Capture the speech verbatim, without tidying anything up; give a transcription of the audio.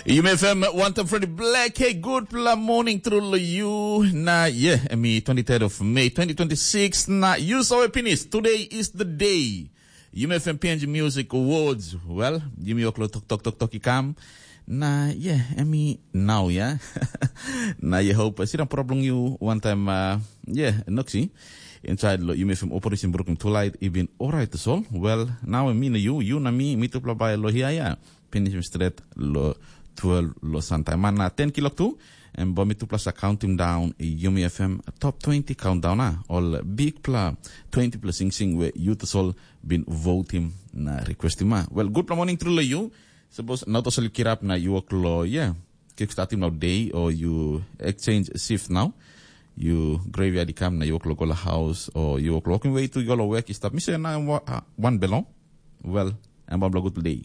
Yumi F M, wantam Freddy Black. Hey, good pla morning through lo you. Na, yeah, I mean, twenty-third of May, twenty twenty-six. Na, you saw it finish. Today is the day. Yumi F M P N G Music Awards. Well, yumi oklo tok tok tok tok ikam. Na, yeah, I mean, now, yeah. Na, you hope, I see the problem you one time, uh, yeah, Noxy. Inside lo, yumi F M operation broken too light, even all right, so. Well, now I mean, you, you na me, me too, bye, lo, here, yeah. Finish straight lo twelve lo Santa. Mana ten kilok tu, and Bomi Tupla sa counting down Yumi F M top twenty countdown, ah, all big pla twenty plus sing sing where you to soul been voting na request him, ah. Well, good morning through you. Suppose not also kirap na you work lo, yeah. Kick start him now day or you exchange shift now. You graveyard come na you work lo go la house or you work walking way to your work stop. Mi say na wa- ah, one belong. Well, and one good day.